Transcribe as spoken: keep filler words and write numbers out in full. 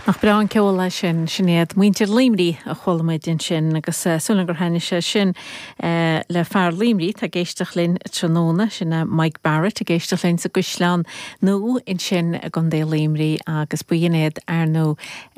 Nach breá an ceol é sin sin iad muintir Luimnigh a chuala muid ansin agus uh, súil gur thaitnigh sé sin uh, le fear Luimnigh tá ag éisteacht linn tráthnóna sin uh, Mike Barrett ag éisteacht linn sa gCaisleán Nua ansin i gContae Luimnigh agus b'in iad ar nó